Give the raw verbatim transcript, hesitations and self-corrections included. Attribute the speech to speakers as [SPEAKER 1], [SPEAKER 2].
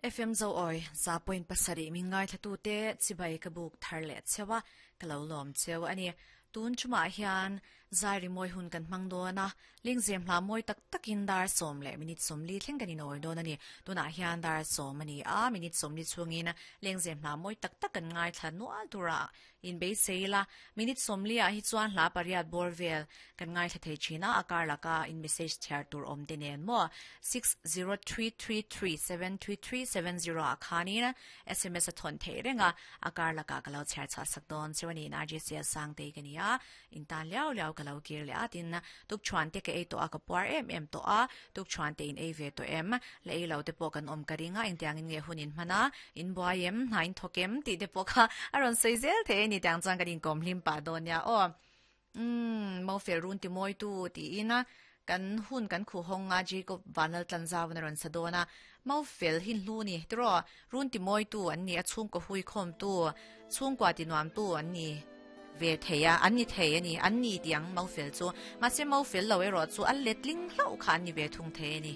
[SPEAKER 1] F M zo oi za point pasarih min ngaithlatu te chibai ka buk thar leh cheu a, ka lo lawm cheu a ni. Tun chumah hian zai rimawi hun kan hmang dawn a, lengzem hla mawi tak takin dar sawm leh minute sawmli thleng kan inawi dawn a ni. Tunah hian dar sawm a ni a, minute sawmli chhungin lengzem hla mawi tak tak kan ngaithla nual tura inbeisei ila. Minute sawmli ah hi chuan hla pariat bawr vel kan ngaithla thei thin a, a kar laka in message chhiar tur awm te nen maw six zero three three three seven three three seven zero ah khanin S M S a thawn theih reng a, a kar lakah ka lo chhiar chhuah sak dawn cheu a ni. R J C Sangtei ka ni a, in tan liau liau ka lo kir leh a. Tin, tukṭhuan te ka ei tawh a, ka puar em em tawh a, tukṭhuan te in ei ve tawh em? La ei lo te pawh kan awm ka ring a, engtiangin nge hun in hman a, in buai em, hna in thawk em tih te pawh kha a rawn sawi zel thei a ni. Tiang chuan kan inkawm hlim pah dawn nia aw. Umm, Mofel run ti mawi tu tiin a kan hun kan khuh hawng a, Jacob Vanlal Tlanzau in a rawn sa dawn a. Mofel hi hlu ni tiraw, run ti mawi tu an ni a, chhungkaw hui khawm tu, chhungkua ti nuam tu an ni ve thei a, an ni thei a ni, an ni tiang Mofel chu. Mahse Mofel lo erawh chu a letling hlauh kha an ni ve thung thei a ni.